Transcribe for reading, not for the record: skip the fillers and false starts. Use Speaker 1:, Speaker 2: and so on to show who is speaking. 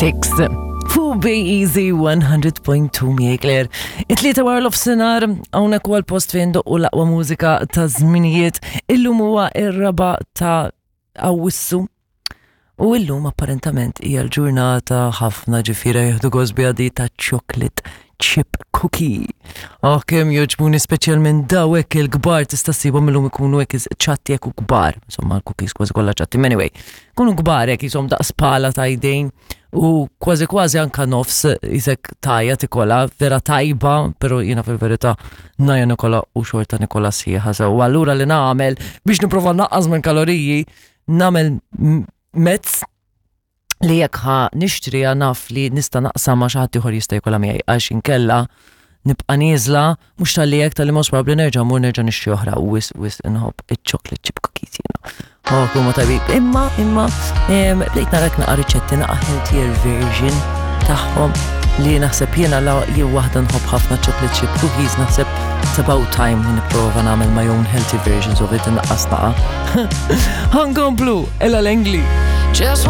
Speaker 1: 6. Fu Bay Easy 100.2 miegħi Claire. It-tlieta wara l-ofsinar hawnhekk huwa l-post fejn doqqu l-aqwa mużika ta' żminijiet. Illum huwa ir-raba ta' Awwissu. U illum apparentament hija l-ġurnata ħafna ġifiera jieħdu gost biha di ta' chocolate chip cookie. Oh, kemm jogħġbuni speċjalment daw hekk il-kbar tista' ssibhom illum ikunu hekk ċatti hekk u kbar. Insomma, l-cookies kważi kollha ċatti. Anyway, kunu kbar hekk jisom daqs pala ta' jdejn u kważi kważi anka nofs isek tajja tikola, vera tajba, pero jiena fil-verità naja nikola u xorta nikola sħiħa sew. Allura li nagħmel biex nipprova naqqas minn kaloriji, nagħmel mezz li jekk ħa nixtriha naf li nista' naqsam ma' xi ħadd ieħor jista' jkollha miegħi għax inkella nibqa' nieżla mhux talli hekk talli most probabbli nerġa' mmur nerġa' nixtri oħra u wisq wisq inħobb iċ-chocolate chip cookies jiena. Oh, huma tajbin. Imma imma bdejt narak naqa' riċetti naqa' healthier version tagħhom li naħseb jiena la jew waħda nħobb ħafna chocolate chip cookies naħseb it's about time li nipprova nagħmel my own healthy versions of it innaqqas naqa'. Ħankomplu, Ella Langley. Just.